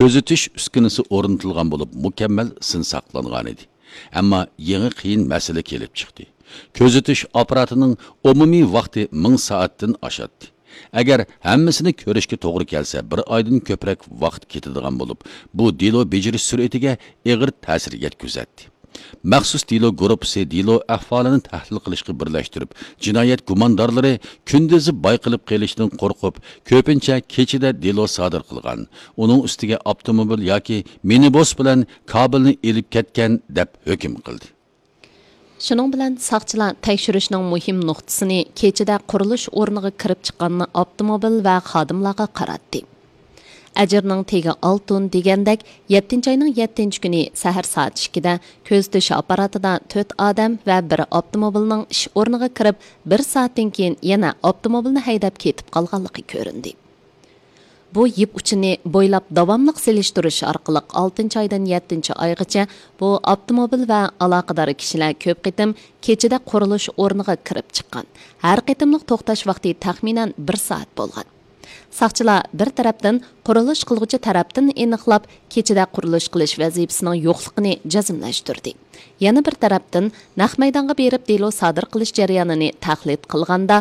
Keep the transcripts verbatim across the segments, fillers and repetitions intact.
كۆزىتىش ئۈسكۈنىسى ئورنىتىلغان بولۇپ، مۇكەممەل سىن ساقلانغانىدى. ئەمما يېڭى قىيىن مەسىلە كېلىپ چىقتى. كۆزىتىش ئاپپاراتىنىڭ ئومۇمىي ۋاقتى مىڭ سائەتتىن ئاشاتتى. ئەگەر ھەممىسىنى كۆرۈشكە توغرا كەلسە، بىر ئايدىن كۆپرەك ۋاقىت كېتىدىغان بولۇپ، بۇ دېلو بېجىرىش سۈرئىتىگە ئېغىر تەسىر يەتكۈزەتتى. مەخسۇس دېلو گۇرۇپپىسى دېلو ئەھۋالىنى تەھلىل قىلىشقا بىرلەشتۈرۈپ، جىنايەت گۇماندارلىرى كۈندۈزى بايقىلىپ قېلىشتىن قورقۇپ، كۆپىنچە كېچىدە دېلو سادىر قىلغان. ئۇنىڭ ئۈستىگە ئاپتوموبىل ياكى مىنىبۇس بىلەن كابېلنى ئېلىپ كەتكەن، دەپ ھۆكۈم قىلدى. شۇنىڭ بىلەن ساقچىلار تەكشۈرۈشنىڭ مۇھىم نۇقتىسىنى كېچىدە قۇرۇلۇش ئورنىغا كىرىپ چىققان ئاپتوموبىل ۋە خادىملارغا قاراتتى. ئەجىرنىڭ تېگى ئالتۇن دېگەندەك، يەتتىنچى ئاينىڭ يەتتىنچى كۈنى سەھەر سائەت ئىككىدە كۆزىتىش ئاپپاراتىدا تۆت ئادەم ۋە بىر ئاپتوموبىلنىڭ ئىش ئورنىغا كىرىپ، بىر سائەتتىن كېيىن يەنە ئاپتوموبىلنى ھەيدەپ كېتىپ قالغانلىقى كۆرۈندى. بۇ يىپ ئۇچىنى بويلاپ داۋاملىق سېلىشتۇرۇش ئارقىلىق، ئالتىنچى ئايدىن يەتتىنچى ئايغىچە بۇ ئاپتوموبىل ۋە ئالاقىدار كىشىلەر كۆپ قېتىم كېچىدە قۇرۇلۇش ئورنىغا كىرىپ چىققان. ھەر قېتىملىق توختاش ۋاقتى تەخمىنەن بىر سائەت بولغان. ساقچىلار بىر تەرەپتىن قۇرۇلۇش قىلغۇچى تەرەپتىن ئېنىقلاپ، كېچىدە قۇرۇلۇش قىلىش ۋەزىپىسىنىڭ يوقلۇقىنى جەزملەشتۈردى. يەنە بىر تەرەپتىن، نەق مەيدانغا بېرىپ دېلو سادىر قىلىش جەريانىنى تەقلىد قىلغاندا،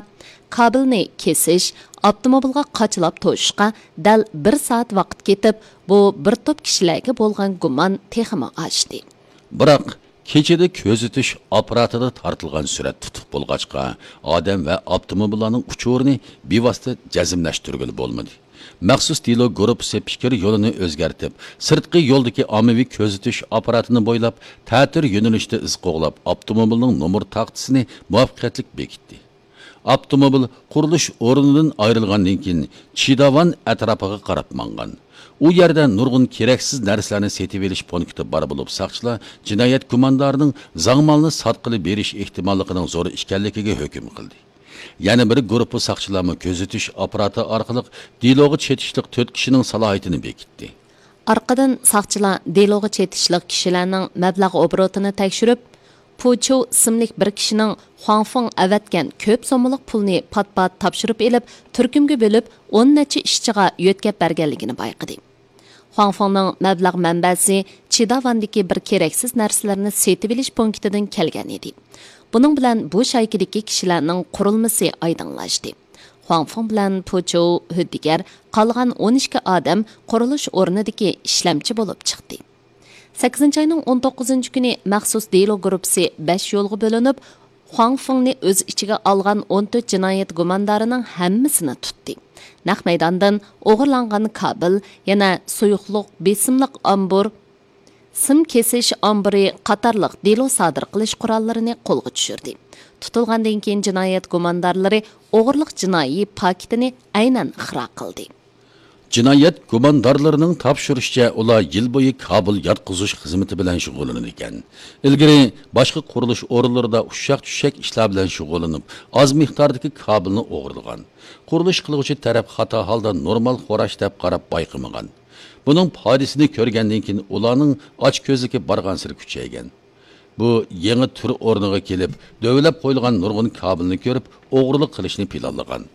كابېلنى كېسىش، ئاپتوموبىلغا قاچىلاپ توشۇشقا دەل بىر سائەت ۋاقىت كېتىپ، بۇ بىر توپ كىشىلەرگە بولغان گۇمان تېخىمۇ ئاشتى. بىراق، كېچىدە كۆزىتىش ئاپپاراتىدا تارتىلغان سۈرەت تۇتۇق بولغاچقا، ئادەم ۋە ئاپتوموبىللارنىڭ ئۇچۇرىنى بىۋاسىتە جەزملەشتۈرگىلى بولمىدى. مەخسۇس دېلو گۇرۇپپىسى پىكىر يولىنى ئۆزگەرتىپ، سىرتقى يولدىكى ئاممىۋى كۆزىتىش ئاپپاراتىنى بويلاپ، تەتۈر يۆنىلىشتە ئىز قوغلاپ، ئاپتوموبىلنىڭ نومۇر تاختىسىنى مۇۋەپپەقىيەتلىك بېكىتتى. ئاپتوموبىل قۇرۇلۇش ئورنىدىن ئايرىلغاندىن كېيىن، چىداۋان ئەتراپىغا قاراپ ماڭغان. ئۇ يەردە نۇرغۇن كېرەكسىز نەرسىلەرنى سېتىۋېلىش پونكىتى بار بولۇپ، ساقچىلار جىنايەت گۇماندارىنىڭ زاڭمالنى ساتقىلى بېرىش ئېھتىماللىقىنىڭ زور ئىكەنلىكىگە ھۆكۈم قىلدى. يەنە بىر گۇرۇپپا ساقچىلارمۇ كۆزىتىش ئاپپاراتى ئارقىلىق دېلوغا چېتىشلىق تۆت كىشىنىڭ سالاھىيىتىنى بېكىتتى. ئارقىدىن ساقچىلار دېلوغا چېتىشلىق كىشىلەرنىڭ مەبلەغ ئوبوروتىنى تەكشۈرۈپ، پۇچۇ ئىسىملىك بىر كىشىنىڭ خۇاڭفېڭ ئەۋەتكەن كۆپ سوممىلىق پۇلنى پات-پات تاپشۇرۇپ ئېلىپ، تۈركۈمگە بۆلۈپ، ئون نەچچە ئىشچىغا يۆتكەپ بەرگەنلىكىنى بايقىدى. خۇاڭفېڭنىڭ مەبلەغ مەنبەسى چىداۋاندىكى بىر كېرەكسىز نەرسىلەرنى سېتىۋېلىش پونكىتىدىن كەلگەن ئىدى. بۇنىڭ بىلەن بۇ شايكىدىكى كىشىلەرنىڭ قۇرۇلمىسى ئايدىڭلاشتى. خۇاڭفېڭ بىلەن پۇچۇ ھۆددىگەر، قالغان ئون ئىككى ئادەم قۇرۇلۇش ئورنىدىكى ئىشلەمچى بولۇپ چىقتى. سەككىزىنچى ئاينىڭ ئون توققۇزىنچى كۈنى مەخسۇس دېلو گۇرۇپپىسى بەش يولغا بۆلۈنۈپ، خۇاڭفېڭنى ئۆز ئىچىگە ئالغان ئون تۆت جىنايەت گۇماندارىنىڭ ھەممىسىنى تۇتتى. نەق مەيداندىن ئوغرىلانغان كابېل، يەنە سۇيۇقلۇق بېسىملىق ئامبۇر، سىم كېسىش ئامبىرى قاتارلىق دېلو سادىر قىلىش قوراللىرىنى قولغا چۈشۈردى. تۇتۇلغاندىن كېيىن، جىنايەت گۇماندارلىرى ئوغرىلىق جىنايى پاكىتىنى ئەينەن ئىقرار قىلدى. جىنايەت گۇماندارلىرىنىڭ تاپشۇرۇشىچە، ئۇلار يىل بويى كابېل ياتقۇزۇش خىزمىتى بىلەن شۇغۇللىنىدىكەن. ئىلگىرى باشقا قۇرۇلۇش ئورۇنلىرىدا ئۇششاق-چۈششەك ئىشلار بىلەن شۇغۇللىنىپ، ئاز مىقداردىكى كابېلنى ئوغرىلىغان. قۇرۇلۇش قىلغۇچى تەرەپ خاتا ھالدا نورمال خوراش دەپ قاراپ بايقىمىغان. بۇنىڭ پايدىسىنى كۆرگەندىن كېيىن، ئۇلارنىڭ ئاچكۆزلۈكى بارغانسېرى كۈچەيگەن. بۇ يېڭى تۈر ئورنىغا كېلىپ، دۆۋىلەپ قويۇلغان نۇرغۇن كابېلنى كۆرۈپ، ئوغرىلىق قىلىشنى پىلانلىغان.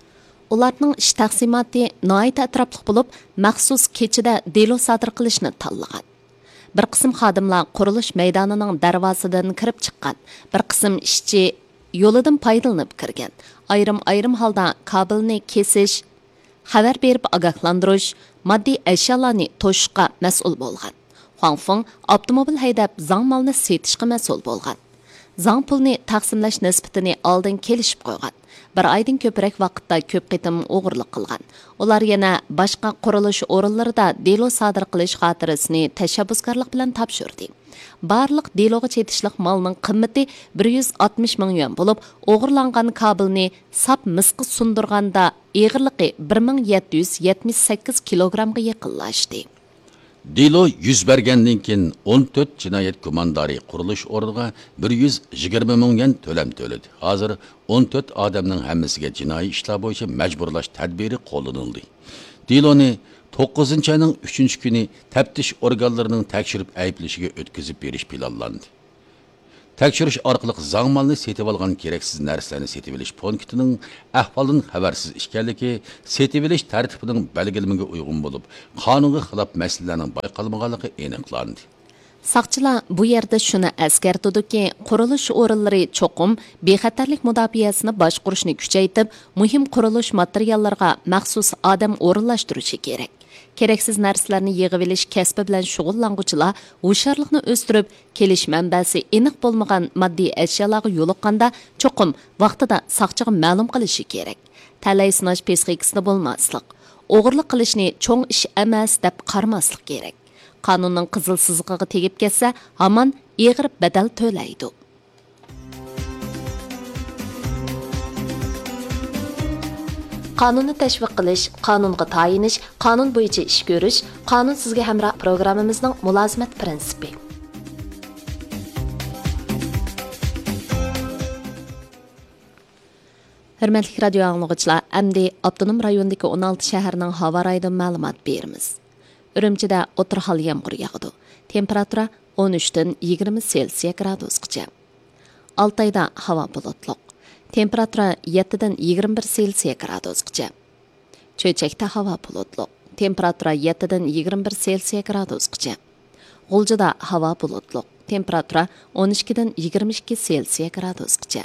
ئۇلارنىڭ ئىش تەقسىماتى ناھايىتى ئەتراپلىق بولۇپ، مەخسۇس كېچىدە دېلو سادىر قىلىشنى تاللىغان. بىر قىسىم خادىملار قۇرۇلۇش مەيدانىنىڭ دەرۋازىدىن كىرىپ چىققان، بىر قىسىم ئىشچى يولىدىن پايدىلىنىپ كىرگەن، ئايرىم-ئايرىم ھالدا كابېلنى كېسىش، خەۋەر بېرىپ ئاگاھلاندۇرۇش، ماددىي ئەشيالارنى توشۇشقا مەسئۇل بولغان. خۇاڭفېڭ ئاپتوموبىل ھەيدەپ، زاڭ مالنى سېتىشقا مەسئۇل بولغان. زاڭ پۇلنى تەقسىملەش نىسبىتىنى ئالدىن كېلىشىپ قويغان. بىر ئايدىن كۆپرەك ۋاقىتتا كۆپ قېتىم ئوغرىلىق قىلغان. ئۇلار يەنە باشقا قۇرۇلۇش ئورۇنلىرىدا دېلو سادىر قىلىش خاتىرىسىنى تەشەببۇسكارلىق بىلەن تاپشۇردى. بارلىق دېلوغا چېتىشلىق مالنىڭ قىممىتى بىر يۈز ئاتمىش مىڭ يۈەن بولۇپ، ئوغرىلانغان كابېلنى ساپ مىسقا سۇندۇرغاندا، ئېغىرلىقى بىر مىڭ يەتتە يۈز يەتمىش سەككىز كىلوگرامغا يېقىنلاشتى. دېلو يۈز بەرگەندىن كېيىن، ئون تۆت جىنايەت گۇماندارى قۇرۇلۇش ئورنىغا بىر يۈز يىگىرمە مىڭ يۈەن تۆلەم تۆلىدى. ھازىر ئون تۆت ئادەمنىڭ ھەممىسىگە جىنايى ئىشلار بويىچە مەجبۇرلاش تەدبىرى قوللىنىلدى. دېلونى توققۇزىنچى ئاينىڭ ئۈچىنچى كۈنى تەپتىش ئورگانلىرىنىڭ تەكشۈرۈپ ئەيىبلىشىگە ئۆتكۈزۈپ بېرىش پىلانلاندى. تەكشۈرۈش ئارقىلىق زاڭ مالنى سېتىۋالغان كېرەكسىز نەرسىلەرنى سېتىۋېلىش پونكىتىنىڭ ئەھۋالدىن خەۋەرسىز ئىكەنلىكى، سېتىۋېلىش تەرتىپىنىڭ بەلگىلىمىگە ئۇيغۇن بولۇپ، قانۇنغا خىلاپ مەسىلىلەرنىڭ بايقالمىغانلىقى ئېنىقلاندى. ساقچىلار بۇ يەردە شۇنى ئەسكەرتىدۇكى، قۇرۇلۇش ئورۇنلىرى چوقۇم بىخەتەرلىك مۇداپىئەسىنى باشقۇرۇشنى كۈچەيتىپ، مۇھىم قۇرۇلۇش ماتېرىياللىرىغا مەخسۇس ئادەم ئورۇنلاشتۇرۇشى كېرەك. كېرەكسىز نەرسىلەرنى يىغىۋېلىش كەسپى بىلەن شۇغۇللانغۇچىلار ھوشيارلىقنى ئۆستۈرۈپ، كېلىش مەنبەسى ئېنىق بولمىغان ماددىي ئەشيالارغا يولۇققاندا، چوقۇم ۋاقتىدا ساقچىغا مەلۇم قىلىشى كېرەك. تەلەي سىناش پىسخىكىسىدە بولماسلىق، ئوغرىلىق قىلىشنى چوڭ ئىش ئەمەس دەپ قارىماسلىق كېرەك. قانۇننىڭ قىزىل سىزىقىغا تېگىپ كەتسە، ھامان ئېغىر بەدەل تۆلەيدۇ. قانۇننى تەشۋىق قىلىش، قانۇنغا تايىنىش، قانۇن بويىچە ئىش كۆرۈش، قانۇن سىزگە ھەمراھ پروگراممىمىزنىڭ مۇلازىمەت پىرىنسىپى. ھۆرمەتلىك رادىيو ئاڭلىغۇچىلار، ئەمدى ئاپتونوم رايوندىكى ئون ئالتە شەھەرنىڭ ھاۋا رايىدىن مەلۇمات بېرىمىز. ئۈرۈمچىدە ئوتتۇرا ھال يامغۇر ياغىدۇ. تېمپېراتۇرا ئون ئۈچتىن يىگىرمە سېلسىيە گرادۇسقىچە. ئالتايدا ھاۋا بۇلۇتلۇق. تېمپېراتۇرا يەتتىدىن يىگىرمە بىر سېلسىيە گرادۇسقىچە. چۆچەكتە ھاۋا بۇلۇتلۇق. تېمپېراتۇرا يەتتىدىن يىگىرمە بىر سېلسىيە گرادۇسقىچە. غۇلجىدا ھاۋا بۇلۇتلۇق. تېمپېراتۇرا ئون ئىككىدىن يىگىرمە ئىككى سېلسىيە گرادۇسقىچە.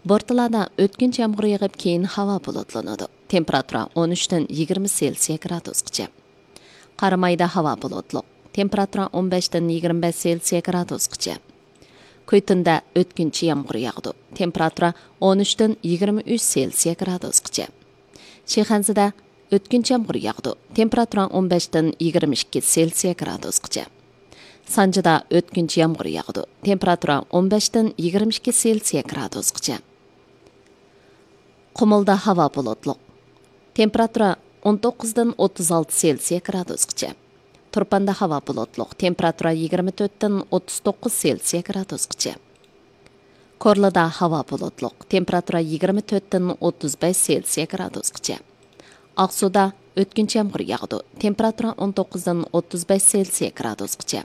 بورتالادا ئۆتكۈنچى يامغۇر يېغىپ، كېيىن ھاۋا بۇلۇتلىنىدۇ. تېمپېراتۇرا ئون ئۈچتىن يىگىرمە سېلسىيە گرادۇسقىچە. قارامايدا ھاۋا بۇلۇتلۇق. تېمپېراتۇرا ئون بەشتىن يىگىرمە بەش سېلسىيە گرادۇسقىچە. كۈيتۇندا ئۆتكۈنچى يامغۇر ياغىدۇ. تېمپېراتۇرا ئون ئۈچتىن يىگىرمە ئۈچ سېلسىيە گرادۇسقىچە. شىخەنزىدە ئۆتكۈنچى يامغۇر ياغىدۇ. تېمپېراتۇرا ئون بەشتىن يىگىرمە ئىككى سېلسىيە گرادۇسقىچە. سانجىدا ئۆتكۈنچى يامغۇر ياغىدۇ. تېمپېراتۇرا ئون بەشتىن يىگىرمە ئىككى سېلسىيە گرادۇسقىچە. قۇمۇلدا ھاۋا بۇلۇتلۇق. تېمپېراتۇرا ئون توققۇزدىن ئوتتۇز ئالتە سېلسىيە گرادۇسقىچە. تۇرپاندا ھاۋا بۇلۇتلۇق. تېمپېراتۇرا يىگىرمە تۆتتىن ئوتتۇز توققۇز سېلسىيە گرادۇسقىچە. كورلىدا ھاۋا بۇلۇتلۇق. تېمپېراتۇرا يىگىرمە تۆتتىن ئوتتۇز بەش سېلسىيە گرادۇسقىچە. ئاقسۇدا ئۆتكۈنچى يامغۇر ياغىدۇ. تېمپېراتۇرا ئون توققۇزدىن ئوتتۇز بەش سېلسىيە گرادۇسقىچە.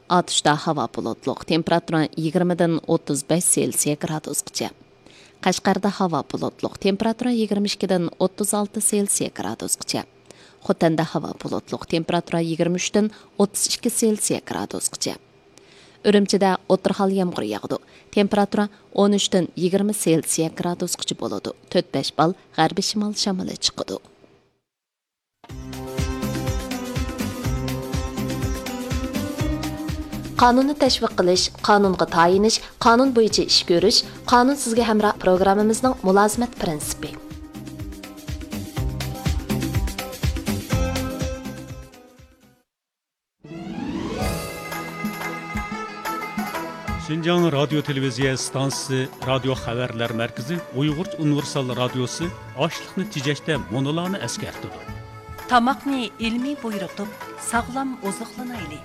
ئاتۇشتا ھاۋا بۇلۇتلۇق. تېمپېراتۇرا يىگىرمىدىن ئوتتۇز بەش سېلسىيە گرادۇسقىچە. قەشقەردە ھاۋا بۇلۇتلۇق. تېمپېراتۇرا يىگىرمە ئىككىدىن ئوتتۇز ئالتە سېلسىيە گرادۇسقىچە. خوتەندە ھاۋا بۇلۇتلۇق. تېمپېراتۇرا يىگىرمە ئۈچتىن ئوتتۇز ئىككى سېلسىيە گرادۇسقىچە. ئۈرۈمچىدە ئوتتۇرا ھال يامغۇر ياغىدۇ. تېمپېراتۇرا ئون ئۈچتىن يىگىرمە سېلسىيە گرادۇسقىچە بولىدۇ. تۆت بەش بال غەربىي شىمال شامىلى چىقىدۇ. قانۇننى تەشۋىق قىلىش، قانۇنغا تايىنىش، قانۇن بويىچە ئىش كۆرۈش، قانۇن سىزگە ھەمراھ پروگراممىمىزنىڭ مۇلازىمەت پىرىنسىپى. شىنجاڭ رادىيو تېلېۋىزىيە ئىستانسىسى رادىيو خەۋەرلەر مەركىزى ئۇيغۇرچە ئۇنىۋېرسال رادىيوسى ئاشلىقنى تېجەشتە مۇنۇلارنى ئەسكەرتىدۇ. تاماقنى ئىلمىي بۇيرۇتۇپ، ساغلام ئوزۇقلىنايلى.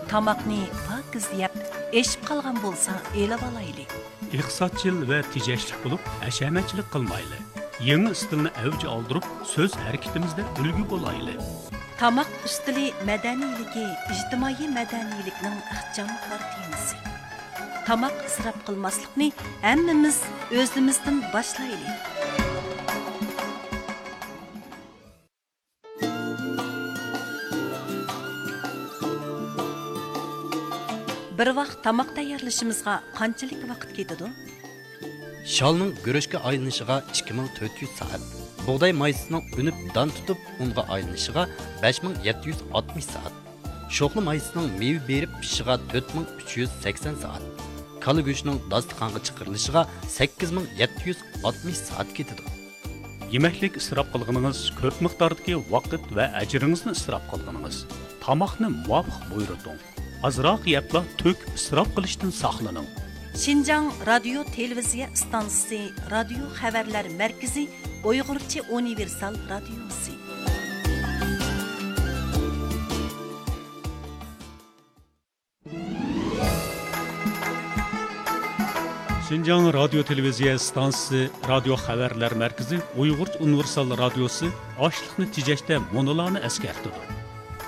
تاماقنى پاكىز يەپ، ئېشىپ قالغان بولسا ئېلىۋالايلى. ئىقتىسادچىل ۋە تېجەشلىك بولۇپ، ھەشەمەتچىلىك قىلمايلى. يېڭى ئىستىلنى ئەۋج ئالدۇرۇپ، سۆز ھەرىكىتىمىزدە ئۈلگە بولايلى. تاماق ئۈستىلى مەدەنىيلىكى ئىجتىمائىي مەدەنىيلىكنىڭ ئىخچام كارتىنىسى. تاماق ئىسراپ قىلماسلىقنى ھەممىمىز ئۆزىمىزدىن باشلايلى. بىر ۋاق تاماق تەييارلىشىمىزغا قانچىلىك ۋاقىت كېتىدۇ؟ شالنىڭ گۈرۈچكە ئايلىنىشىغا ئىككى مىڭ تۆت يۈز سائەت، بۇغداي مايسىسىنىڭ ئۈنۈپ دان تۇتۇپ ئۇنغا ئايلىنىشىغا بەش مىڭ يەتتە يۈز ئاتمىش سائەت، شوخلا مايسىسىنىڭ مېۋە بېرىپ پىشىشىغا تۆت مىڭ ئۈچ يۈز سەكسەن سائەت، كالا گۆشىنىڭ داستىخانغا چىقىرىلىشىغا سەككىز مىڭ يەتتە يۈز ئاتمىش سائەت كېتىدۇ. يېمەكلىك ئىسراپ قىلغىنىڭىز كۆپ مىقداردىكى ۋاقىت ۋە ئەجرىڭىزنى ئىسراپ قىلغىنىڭىز. تاماقنى مۇۋاپىق بۇيرۇتۇڭ. ئازراق يەپلا تۆك، ئىسراپ قىلىشتىن ساقلىنىڭ. شىنجاڭ رادىيو تېلېۋىزىيە ئىستانسىسى رادىيو خەۋەرلەر مەركىزى ئۇيغۇرچە ئۇنىۋېرسال رادىيوسى. شىنجاڭ رادىيو تېلېۋىزىيە ئىستانسىسى رادىيو خەۋەرلەر مەركىزى ئۇيغۇرچە ئۇنىۋېرسال رادىيوسى ئاشلىقنى تېجەشتە مۇنۇلارنى ئەسكەرتىدۇ.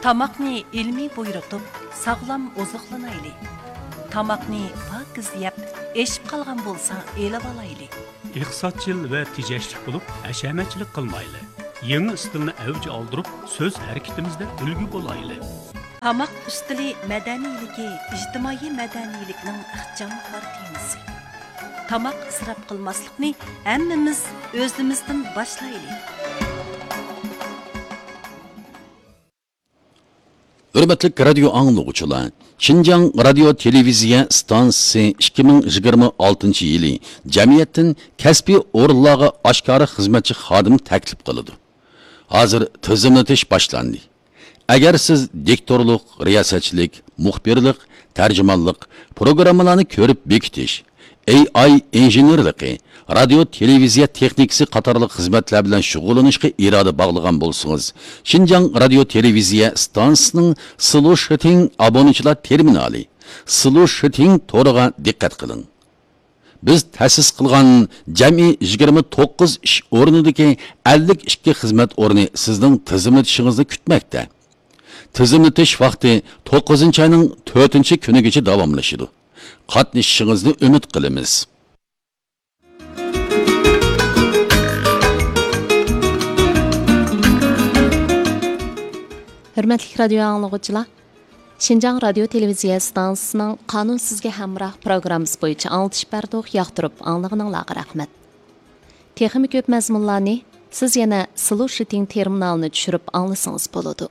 تاماقنى ئىلمىي بۇيرۇتۇپ، ساغلام ئوزۇقلىنايلى. تاماقنى پاكىز يەپ، ئېشىپ قالغان بولسا ئېلىۋالايلى. ئىقتىسادچىل ۋە تېجەشلىك بولۇپ، ھەشەمەتچىلىك قىلمايلى. يېڭى ئىستىلنى ئەۋج ئالدۇرۇپ، سۆز ھەرىكىتىمىزدە ئۈلگە بولايلى. تاماق ئۈستىلى مەدەنىيلىكى ئىجتىمائىي مەدەنىيلىكنىڭ ئىخچام كارتىنىسى. تاماق ئىسراپ قىلماسلىقنى ھەممىمىز ئۆزىمىزدىن باشلايلى. ھۆرمەتلىك رادىيو ئاڭلىغۇچىلار، شىنجاڭ رادىيو تېلېۋىزىيە ئىستانسىسى ئىككى مىڭ يىگىرمە ئالتىنچى يىلى جەمئىيەتتىن كەسپىي ئورۇنلارغا ئاشكارا خىزمەتچى خادىم تەكلىپ قىلىدۇ. ھازىر تىزىملىتىش باشلاندى. ئەگەر سىز دىكتورلۇق، رىياسەتچىلىك، مۇخبىرلىق، تەرجىمانلىق، پروگراممىلارنى كۆرۈپ بېكىتىش، ئېي ئاي ئىنژېنېرلىقى، رادىيو تېلېۋىزىيە تېخنىكىسى قاتارلىق خىزمەتلەر بىلەن شۇغۇللىنىشقا ئىرادە باغلىغان بولسىڭىز، شىنجاڭ رادىيو تېلېۋىزىيە ئىستانسىسىنىڭ سلۇشىتىڭ ئابونىچىلار تېرمىنالى، سلۇشىتىڭ تورىغا دىققەت قىلىڭ. بىز تەسىس قىلغان جەمئىي يىگىرمە توققۇز ئىش ئورنىدىكى ئەللىك ئىككى خىزمەت ئورنى سىزنىڭ تىزىملىتىشىڭىزنى كۈتمەكتە. تىزىملىتىش ۋاقتى توققۇزىنچى ئاينىڭ تۆتىنچى كۈنىگىچە داۋاملىشىدۇ. قاتنىشىشىڭىزنى ئۈمىد قىلىمىز. ھۆرمەتلىك رادىيو ئاڭلىغۇچىلار، شىنجاڭ رادىيو تېلېۋىزىيە ئىستانسىسىنىڭ قانۇن سىزگە ھەمراھ پروگراممىسى بويىچە ئاڭلىتىش بەردۇق، ياقتۇرۇپ ئاڭلىغىنىڭلارغا رەھمەت. تېخىمۇ كۆپ مەزمۇنلارنى سىز يەنە سلۇشىتىڭ تېرمىنالىنى چۈشۈرۈپ ئاڭلىسىڭىز بولىدۇ.